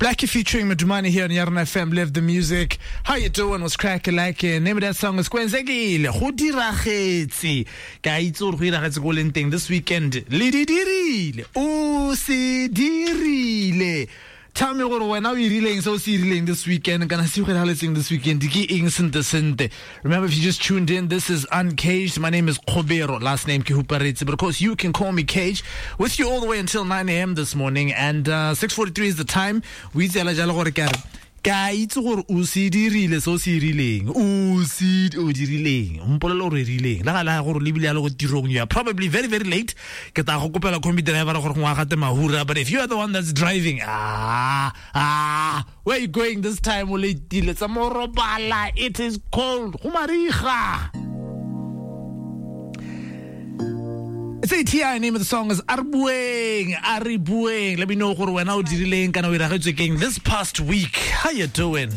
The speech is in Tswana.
Blxckie featuring Madumane here on Yarona FM. Live the music. How you doing? What's cracking like? Name of that song is Kwenzekile. Go diragetse. Ke a itse gore go iragetse ko leng teng this weekend. Le di dirile. O se dirile. Tell me gore wena o irileng se o se irileng this weekend kana se go iragetseng this weekend ke eng sente sente. Remember, if you just tuned in, this is Uncaged. My name is Kgobero, last name ke Huparetse, but of course you can call me Cage. With you all the way until 9 a.m. this morning, and 6:43 is the time. We itse hela jalo gore ke a re, ke a itse gore o se dirile se o se irileng, o se o dirileng, o mpolele gore o irileng. Le ga le gore o lebile ya le go tirong, you are probably very, very late. Ke tla go kopela combi driver gore gongwe a gate mahura, but if you are the one that's driving, where are you going this time? O letile tsa mo robala, it is cold, go mariga. It's ATI, name of the song is Arbueng, Aribueng. Let me know gore wena o dirileng kana o iragetswe keng this past week. How you doing?